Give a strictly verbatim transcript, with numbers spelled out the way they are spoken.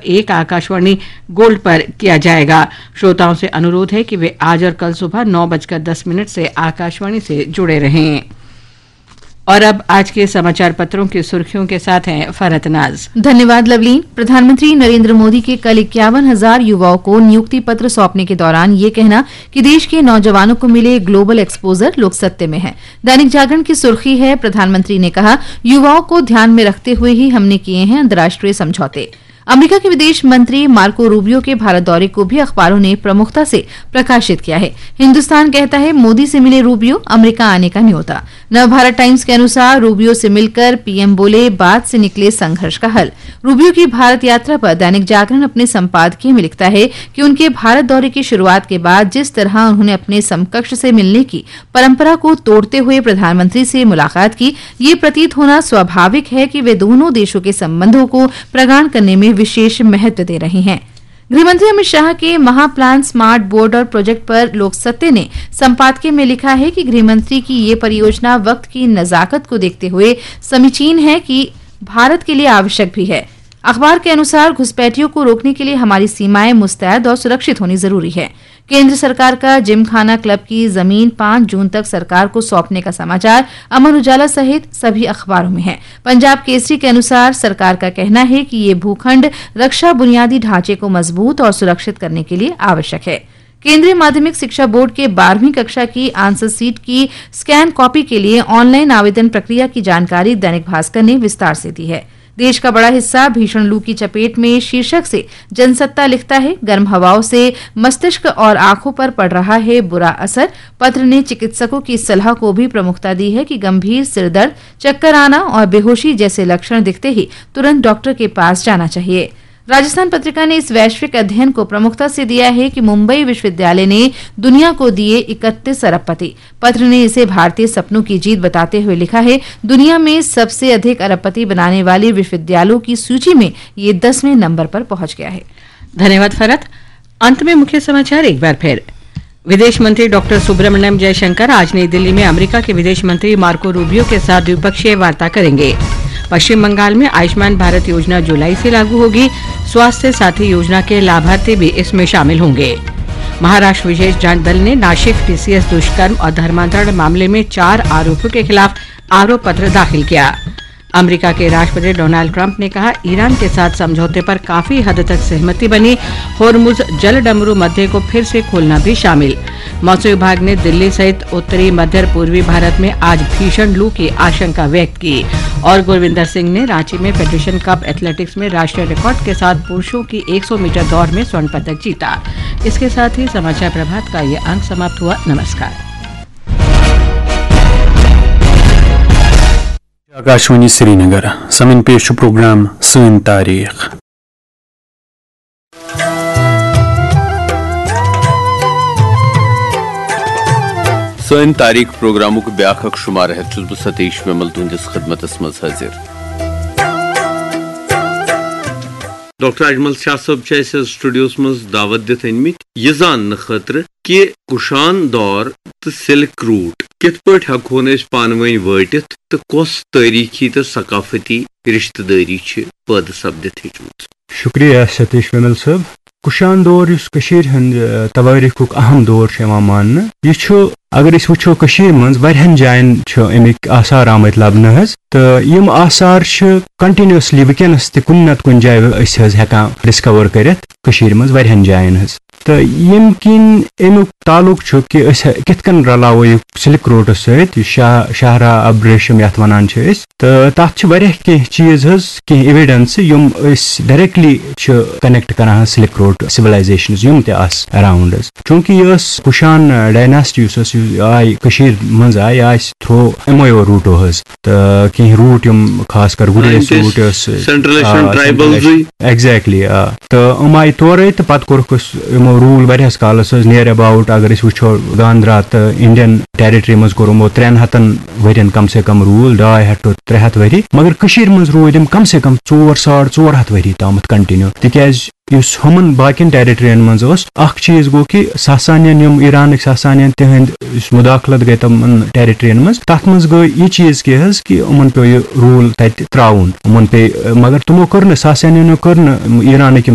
एक आकाशवाणी गोल्ड पर किया जाएगा। श्रोताओं से अनुरोध है कि वे आज और कल सुबह नौ बजकर दस मिनट से आकाशवाणी से जुड़े रहें। और अब आज के समाचार पत्रों की सुर्खियों के साथ हैं फरहत नाज। धन्यवाद लवलीन। प्रधानमंत्री नरेंद्र मोदी के कल इक्यावन हजार युवाओं को नियुक्ति पत्र सौंपने के दौरान ये कहना कि देश के नौजवानों को मिले ग्लोबल एक्सपोजर लोग सत्य में है। दैनिक जागरण की सुर्खी है, प्रधानमंत्री ने कहा, युवाओं को ध्यान में रखते हुए ही हमने किए हैं अंतर्राष्ट्रीय समझौते। अमेरिका के विदेश मंत्री मार्को रूबियो के भारत दौरे को भी अखबारों ने प्रमुखता से प्रकाशित किया है। हिंदुस्तान कहता है, मोदी से मिले रूबियो, अमेरिका आने का न्योता। नवभारत टाइम्स के अनुसार रूबियो से मिलकर पीएम बोले, बात से निकले संघर्ष का हल। रूबियो की भारत यात्रा पर दैनिक जागरण अपने संपादकीय में लिखता है कि उनके भारत दौरे की शुरुआत के बाद जिस तरह उन्होंने अपने समकक्ष से मिलने की परंपरा को तोड़ते हुए प्रधानमंत्री से मुलाकात की, ये प्रतीत होना स्वाभाविक है कि वे दोनों देशों के संबंधों को प्रगाढ़ करने में विशेष महत्व दे रहे हैं। गृहमंत्री अमित शाह के महाप्लान, स्मार्ट बॉर्डर प्रोजेक्ट पर लोक सत्य ने संपादकीय में लिखा है कि गृहमंत्री की ये परियोजना वक्त की नजाकत को देखते हुए समीचीन है कि भारत के लिए आवश्यक भी है। अखबार के अनुसार, घुसपैठियों को रोकने के लिए हमारी सीमाएं मुस्तैद और सुरक्षित होनी जरूरी है। केंद्र सरकार का जिमखाना क्लब की जमीन पाँच जून तक सरकार को सौंपने का समाचार अमर उजाला सहित सभी अखबारों में है। पंजाब केसरी के अनुसार, सरकार का कहना है कि ये भूखंड रक्षा बुनियादी ढांचे को मजबूत और सुरक्षित करने के लिए आवश्यक है। केंद्रीय माध्यमिक शिक्षा बोर्ड के बारहवीं कक्षा की आंसर सीट की स्कैन कॉपी के लिए ऑनलाइन आवेदन प्रक्रिया की जानकारी दैनिक भास्कर ने विस्तार से दी है। देश का बड़ा हिस्सा भीषण लू की चपेट में शीर्षक से जनसत्ता लिखता है, गर्म हवाओं से मस्तिष्क और आंखों पर पड़ रहा है बुरा असर। पत्र ने चिकित्सकों की सलाह को भी प्रमुखता दी है कि गंभीर सिरदर्द, चक्कर आना और बेहोशी जैसे लक्षण दिखते ही तुरंत डॉक्टर के पास जाना चाहिए। राजस्थान पत्रिका ने इस वैश्विक अध्ययन को प्रमुखता से दिया है कि मुंबई विश्वविद्यालय ने दुनिया को दिए इकतीस अरबपति। पत्र ने इसे भारतीय सपनों की जीत बताते हुए लिखा है, दुनिया में सबसे अधिक अरबपति बनाने वाले विश्वविद्यालयों की सूची में ये दसवें नंबर पर पहुंच गया है। धन्यवाद फरहत। अंत में मुख्य समाचार एक बार फिर। विदेश मंत्री डॉक्टर सुब्रमण्यम जयशंकर आज नई दिल्ली में अमेरिका के विदेश मंत्री मार्को रूबियो के साथ द्विपक्षीय वार्ता करेंगे। पश्चिम बंगाल में आयुष्मान भारत योजना जुलाई से लागू होगी। स्वास्थ्य साथी योजना के लाभार्थी भी इसमें शामिल होंगे। महाराष्ट्र विशेष जांच दल ने नाशिक टीसीएस दुष्कर्म और धर्मांतरण मामले में चार आरोपियों के खिलाफ आरोप पत्र दाखिल किया। अमेरिका के राष्ट्रपति डोनाल्ड ट्रंप ने कहा, ईरान के साथ समझौते पर काफी हद तक सहमति बनी। होर्मुज जल डमरू मध्य को फिर से खोलना भी शामिल। मौसम विभाग ने दिल्ली सहित उत्तरी मध्य और पूर्वी भारत में आज भीषण लू की आशंका व्यक्त की। और गुरविंदर सिंह ने रांची में फेडरेशन कप एथलेटिक्स में राष्ट्रीय रिकॉर्ड के साथ पुरुषों की एक सौ मीटर दौड़ में स्वर्ण पदक जीता। इसके साथ ही समाचार प्रभात का ये अंक समाप्त हुआ। नमस्कार। آکاشوانی سرینگر۔ سمن پیش چھُ پروگرام سٲنۍ تاریخ۔ سٲنۍ تاریخ پروگرامُک بیٛاکھ اکھ شمارٕ ہٮ۪تھ چھُس بہٕ ستیش ومل تُہنٛدِس خدمتس منٛز حٲضِر۔ ڈاکٹر اجمل شاہ صٲب چھِ اَسہِ حظ سٹوڈیوس منٛز دعوت دِتھ أنۍ مٕتۍ یہِ زاننہٕ خٲطرٕ کہِ کُشان دور تہٕ سلک روٹ کِتھ پٲٹھۍ ہٮ۪کہون أسۍ پانہٕ ؤنۍ وٲٹِتھ تہٕ کۄس تٲریٖخی تہٕ ثقافتی رشتہٕ دٲری چھِ پٲدٕ سپدِتھ ہیٚچمٕژ؟ شُکریہ ستیش ومل صٲب۔ کُشان دور یُس کٔشیٖرِ ہُنٛد، آ، توٲریٖخُک اہم دور چھُ یِوان ماننہٕ، یہِ چھُ، اگر أسۍ وٕچھو، کٔشیٖرِ منٛز واریاہن جاین چھِ اَمِکۍ آثار آمٕتۍ لبنہٕ حظ، تہٕ یِم آثار چھِ continuously وٕنکیٚنس تہِ کُنہِ نتہٕ کُنہِ جایہِ أسۍ حظ ہٮ۪کان discover کٔرِتھ کٔشیٖرِ منٛز واریاہن جاین حظ۔ تہٕ ییٚمہِ کِنۍ اَمیُک تعلق چھُ کہِ أسۍ کِتھ کٔنۍ رلاوو یہِ سلک روٹس سۭتۍ، یہِ شاہ-، شاہراہ ابریشم یتھ ونان چھِ أسۍ۔ تہٕ تَتھ چھِ واریاہ کینٛہہ چیٖز حظ، کینٛہہ evidence یِم أسۍ directly چھِ connect کران حظ سلک روٹ civilizations یِم تہِ آسہٕ around حظ۔ چوٗنٛکہِ یہِ ٲس کُشان dynasty یُس ٲس، یہِ آے کٔشیٖرِ منٛز آے، یہِ آسہِ through یِمویو روٗٹو حظ۔ تہٕ کینٛہہ روٗٹ یِم خاص کر گُریز یِم تہِ روٗٹ ٲس، Central Asian آ، tribals Central Asian۔ Exactly، آ۔ تہٕ یِم آیہِ تورے تہٕ پتہٕ کوٚرُکھ أسۍ یِمو rule واریاہس کالس حظ، near about اگر أسۍ وٕچھو گاندرا تہٕ Indian Territory منٛز کوٚر یِمو ترٛٮ۪ن ہتن ؤرین کم سے کم rule، ڈاے ہتھ to ترٛےٚ ہتھ ؤری، مگر کٔشیٖرِ منٛز روٗدۍ یِم کم سے کم ژور ساڑ ژور ہتھ ؤری تامتھ continue، تِکیازِ یُس ہُمن باقین ٹیریٹرین منٛز اوس، اکھ چیٖز گوٚو کہِ ساسانین، یِم ایرانٕکۍ ساسانین، تِہنٛد یُس مداخلت گٔے تِمن ٹیریٹرین منٛز، تتھ منٛز گٔے یہِ چیٖز کہِ حظ کہِ یِمن پیوٚو یہِ روٗل تتہِ ترٛاوُن، یِمن پیٚیہِ، مگر تِمو کٔر نہٕ، ساسانینو کٔر نہٕ ایرانٕکۍ یِم